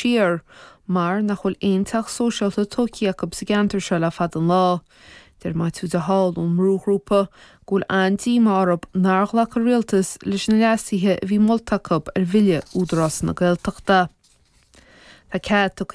siar mar nach bhfuil aon teach sóisialta tógtha acu sa gceantar seo le fada an lá. Deir Maitiú de Hál ón mbrúghrúpa go bhfuil an-díomá orthu nár ghlac an Rialtas leis na leasuithe a bhí molta acu ar bhille Údarás na Gaeltachta. Tá cead tugtha.